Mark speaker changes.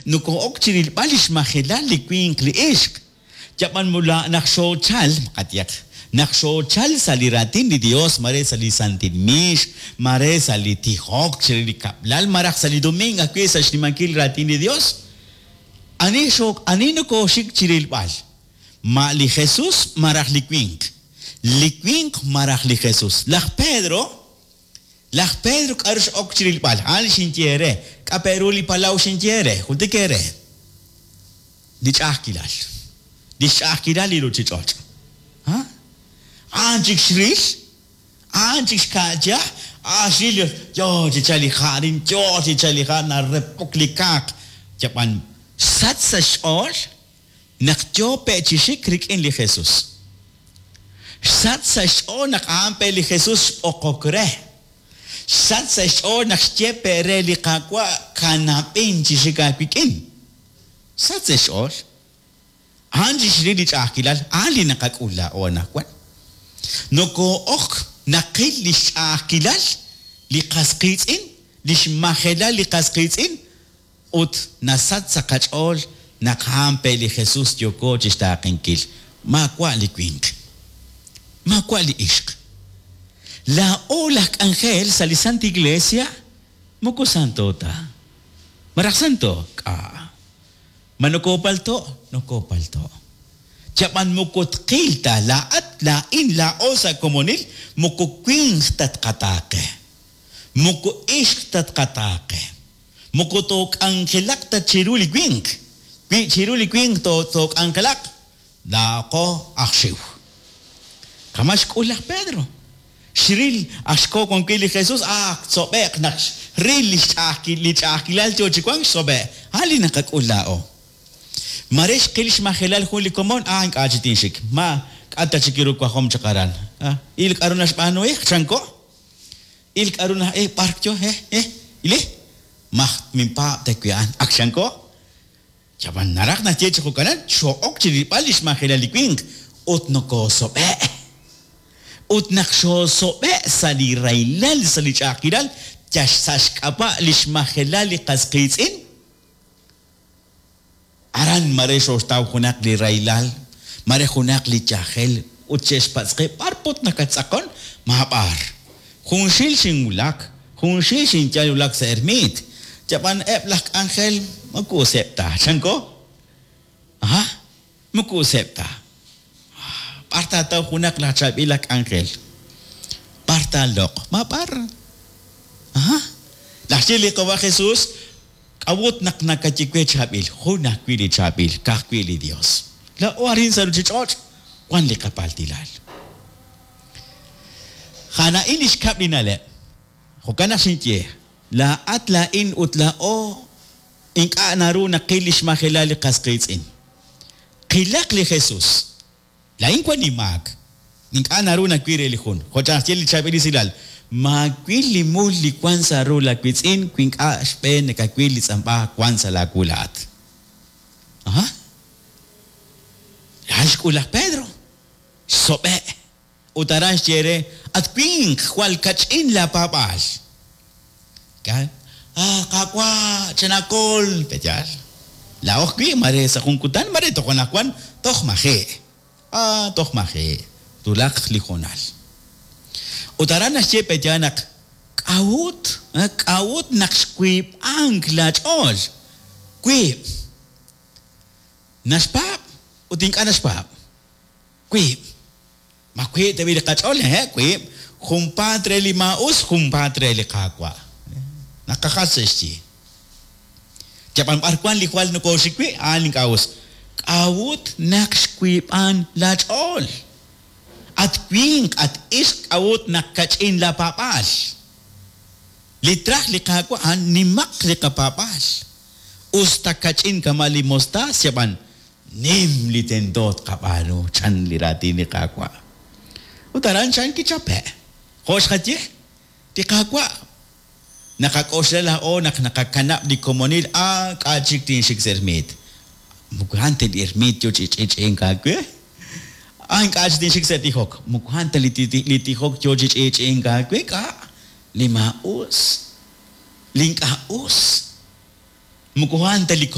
Speaker 1: Nokoo'ok chi rilb'al li xmajelal li winq li ixq. Yab'an mula naq xoochal, qayehaq, naq xoochal sa' li raatin li Dios, mare sa' li santil miix, mare sa' li tijok chire li kab'lal, malaj sa' li domingo ajwi' sa' xnimankil raatin li Dios, ani xo ani nokooxik chi rilb'al? Ma li Jesus malaj li winq? Li winq malaj li Jesus? Laj Pedro, laj Pedro k'aru x'ok chi rilb'al? A'an li xinye eere. K'a' pe' ru li palaw xinye eere? Jultik eere. Li ch'a'ajkilal. Li xch'a'ajkilal li ruuchich'och'. Ha? A'an chik xril, a'an chik xka'ya, a'an xril yo chi chalk li ha' arin, yo chi chalk li ha' narepok li kaaq. Yab'an xsach sa' xch'ool naq yo pe' chi xik rik'in li Jesus. Xsach sa' xch'ool naq a'an pe' li Jesus xb'oqok re. Xsach sa' xch'ool naq xye pe' re li Qaawa' kanab'in chi xik aawik'in. Xsach sa' xch'ool. A'an chi xril li ch'a'ajkilal, a'an li naqak'ul laa'o anaqwan. Nokoo'ok naqil li xch'a'ajkilal li qas qiitz'in, li xmajelal li qas qiitz'in, ut nasach sa' qach'ool naq a'an pe' li Jesus yooko chi xtaaqenkil, maawa' li winq, maawa' li ixq. Laa'o laj k'anjel sa' li Santa Iglesia moko santo ta. Malaj santo? K'a'. Ma nokoopalto'? Nokoopalto'. Chab'an moko tqil ta, laa'at, laa'in, laa'o sa' komonil, moko winq ta tqataaqe. Moko ixq ta tqataaqe. Moko took'anjelaq ta chiru li winq. Wi chiru li winq took'anjelaq, laa'aqo aj xiw. Kama' xk'ul laj Pedro. Xril aj xko wan wi' li Jesus, ah, tsob'e'q naq xril li xch'a'ajkil li ch'a'ajkilal yo chi wank xsob'e'. A'an li naqak'ul laa'o. Mare xqil xmajelal jun li komon, ah, ink'a' chi tinxik. Ma k'a' ta chik ru wajom chaq aran. Ah, il k'a'ru naxb'aanu, eh, chanko. Il k'a'ru na, eh, b'ar yo, eh, eh, ili. Maj minpaab' ta wi' a'an. Ak chanko. Ab'an naraj naxye chi jo'kanan, xoo'ok chi rilb'al li xmajelal li winq ut nokoosob'e'. Ut naq xoosob'e' sa' li rahilal, sa' li ch'a'ajkilal, yal sa' xk'ab'a' li xmajelal li qas qiitz'in, aran mare xooxtaw junaq li rahilal, mare junaq li yajel ut xe'xpatz' qe b'ar put nakattz'aqon, maab'ar. Junxil xinwulak, junxil xinyal wulak sa' ermiit, yab'an eb' laj k'anjel moko useb' ta, chanko? Aha, moko useb' ta. B'ar taataw junaq laj chaab'il aj k'anjel? B'ar taaloq'? Maab'ar. Aha. Naxye li Qawa' Jesus, K'a'ut naq nakaye we chaab'il? Jun ajwi' li chaab'il, ka'ajwi' li Dios. Laa'o arin sa' ruchich'och' wan li qapaltilal. A'an a'in li xkab' li na'leb'. Jo'kan naq xinye, laa'at, laa'in ut laa'o ink'a' naru naqil li xmajelal li qas qiitz'in. Qilaq li Jesus. Laa'in wan inmaak. Ink'a' naru nawil re li jun. Jo' chan naxye li Chaab'il Esilal, Maawil li mul li wan sa' ru laawiitz'in wi ink'a' xb'een nakawil li tz'amb'a wan sa' laawu laa'at. Aha. A'an xk'ul laj Pedro. Xsob'e'. Ut aran xye re, At winq, jwal kach'in laapaab'aal. Ah, Qaawa', chanaakol! Pe'yaal? Laa'o ajwi', mare sa' jun kutan, mare toj anaqwan, toj maji'. Ah, toj maji'. Twulaq li hoonal. Ut aran naxye pe'yaal naq k'a'ut, k'a'ut naq xwiib'ank laach'ool? Wiib'. Naxpaab' ut ink'a' naxpaab'. Wiib'. Ma wiib' tab'i' li qach'ool? Hehe', wiib'. Junpaat re li maa'us, junpaat re li Qaawa'. Naqajach sa' xyi. Yab'an b'ar wank li jwal nokooxik wi', a'an li ink'a' us. K'a'ut naq xwiib'an laach'ool? At winq, at ixq, k'a'ut naq kach'in laapaab'aal? Li traj li Qaawa' a'an nimaq li qapaab'aal. Us ta kach'in kama' li mostaas, yab'an Nim li tento tqab'aanu, chan li raatin li Qaawa'. Ut aran chan kichape'. Jo' xqaye, li Qaawa', naqak'oxla laa'o naq naqakanab' li komonil, Ah, k'a' chik tinxik sa' ermiit. Moko a'an ta li ermiit yoo chi ch'i'ch'i'ink aawe. Ah, ink'a' chik tinxik sa' tijok. Moko a'an ta li tijok yoo chi ch'i'ch'i'ink aawe. K'a'? Li maa'us. Li ink'a' us. Moko a'an ta li komonil.